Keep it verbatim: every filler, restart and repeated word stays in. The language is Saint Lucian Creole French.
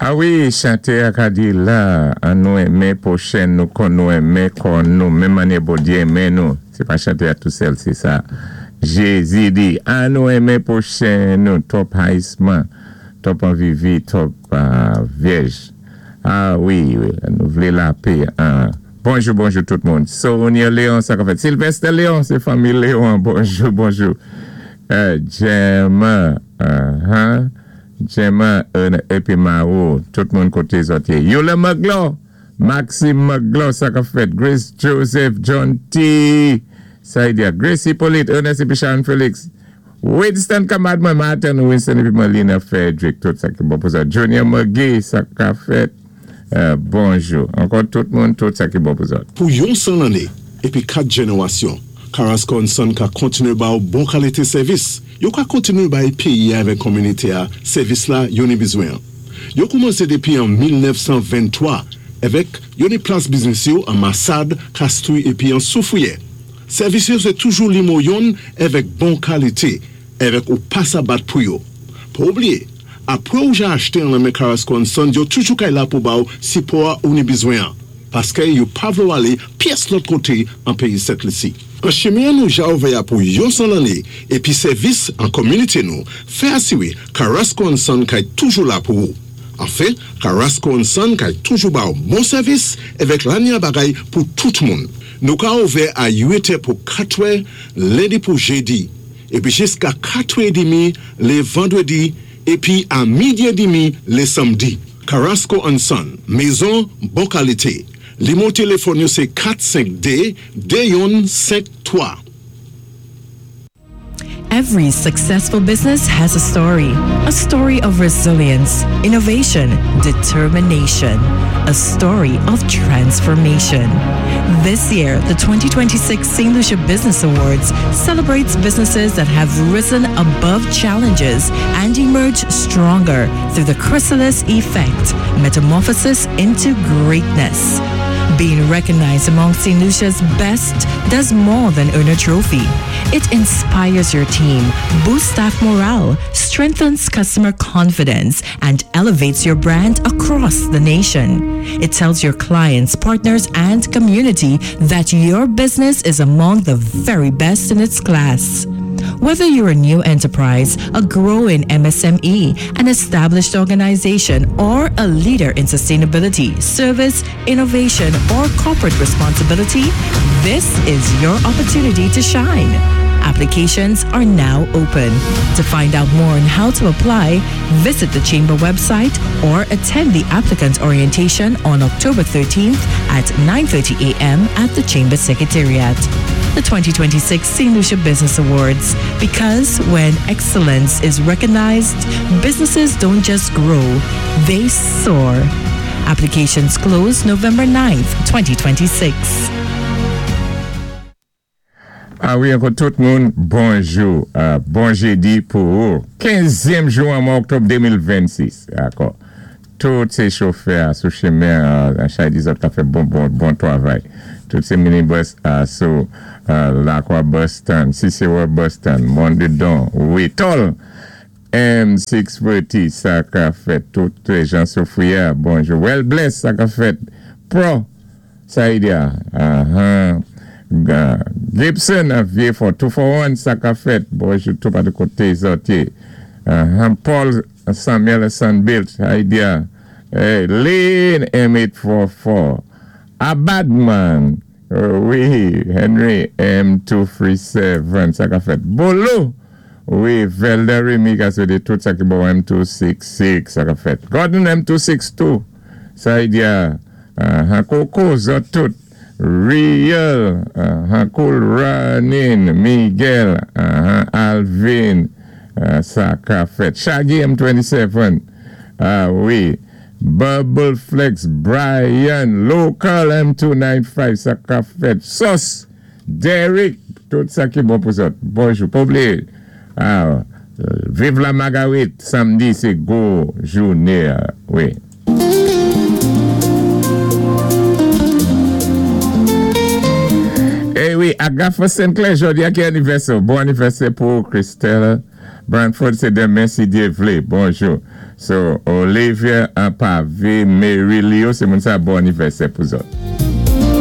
A wi, chanté a ka di la, an nou enmen pwochen nou kon nou enmen kò nou, menm mannyè Bondyé enmen nou. Sé pa chanté a tou sèl, sé sa. Jézi di, an nou enmen pwochen nou, twòp rayisman, twòp anvi vi, twòp vyèj. A wi, wi, nou vlé lapè. Bonjou, bonjou tout moun. Sonia Léon, sa ka fèt. Sylvester Léon, sé fanmi Léon. Bonjou, bonjou. Gemma, uh-huh. Gemma, épi Mao, tout moun koté zòt yé. Yola Maglo, Maxime Maglo, sa ka fèt. Grace Joseph, John T. Saidia, Grace Hippolyte, Ernest épi Sharon Felix. Winston Kamad mwen, Martin Winston épi Melina Frederick, tout sa ki bon pou sa. Junior McGee, sa ka fèt. Bonjou. Ankò tout moun, tout sa ki bon pou sa. Pou yon san lanné, épi kat jénéwasyon, Carrasco and Son ka kontiné ba ou bon kalité sèvis. Yo ka kontiné bay péyi avèk kominité a, sèvis la yo ni bizwen. Yo koumansé dépi an mil nèf san venntwa, avèk yo ni plas biznis yo an Massade, Castries épi an Soufrière. Sèvis yo sé toujou nimewo youn avèk bon kalité, avèk ou pa sa bat pou yo. Pa oubliyé, apwé ou ja achté an nan men Carrasco and Son, yo toujou kay la pou ba ou sipò ou ni bizwen an. Paské yo pa vlé ou alé pyès lòt koté an péyi Sent Lisi. An chimen nou ja ouvè pou yon san lanné épi sèvis an kominité nou, fè asiwé Carrasco and Son kay toujou la pou ou. Anfen, Carrasco and Son kay toujou ba ou bon sèvis avèk lanya bagay pou tout moun. Nou ka ouvè a uit è pou katwè, lendi pou jédi, épi jiska katwè édmi lé vandwédi, épi a midi édmi lé samdi. Carrasco and Son, mézon bon kalité. Nimewo téléfòn yo sé kat senk dé de youn senk twa. Every successful business has a story. A story of resilience, innovation, determination. A story of transformation. This year, the twenty twenty-six Saint Lucia Business Awards celebrates businesses that have risen above challenges and emerged stronger through the chrysalis effect, metamorphosis into greatness. Being recognized among Saint Lucia's best does more than earn a trophy. It inspires your team, boosts staff morale, strengthens customer confidence, and elevates your brand across the nation. It tells your clients, partners, and community that your business is among the very best in its class. Whether you're a new enterprise, a growing M S M E, an established organization, or a leader in sustainability, service, innovation, or corporate responsibility, this is your opportunity to shine. Applications are now open. To find out more on how to apply, visit the Chamber website or attend the applicant orientation on October thirteenth at nine thirty a m at the Chamber Secretariat. The twenty twenty-six Saint Lucia Business Awards. Because when excellence is recognized, businesses don't just grow, they soar. Applications close November ninth, twenty twenty-six. A wi, ankò tout moun, bonjou. Uh, bon jédi pou ou. kenzyèm jou an mwa oktòb de mil vennsis. Dakò. Tout sé chofè sou chimen, uh, chay di zòt ka fè bon, bon, bon twavay. Tout sé minibus uh, sou uh, Lakwa bus stand, Cicero bus stand, Mondudon, wi, Tol, M sis forty, sa ka fèt. Tout jan Soufrière, bonjou. Well bless, sa ka fèt. Pro, Saïdia, uh-huh. Gibson, Vieux-Fort, two four one, sa ka fèt. Bonjou, tout pa de koté zòt yé. Uh-huh. Paul Samuel Sunbuilt, Saïdia. Hey, Lynn M eight forty-four. Abadman, uh, wi, Henry M two three seven, sa ka fèt. Bolo, wi, Velder Remy, ka de tout sa ki bon M two six six, sa ka fèt. Gordon M two six two, Saïdia. Uh, Coco, zòt tout. Real, uh, Cool Running, Miguel, uh, Alvin, uh, sa ka fèt. Shaggy M twenty-seven, ah wi, Bubble Flex, Brian, Local M two ninety-five, sa ka fèt. Sos, Derek, tout sa ki bon pou sa. Bonjou, pa oubliyé. Ah, viv la Marguerite, samdi, sé gwo jouné, wi. Eh wi, Agatha Sinclair, jòdi a ki anivèsè. Bon anivèsè pou Christelle. Brantford sé denmen si Dye vlé. Bonjou. So, Olivia Pavé, Mary Leo, sé moun sa bon anivèsè pou zòt.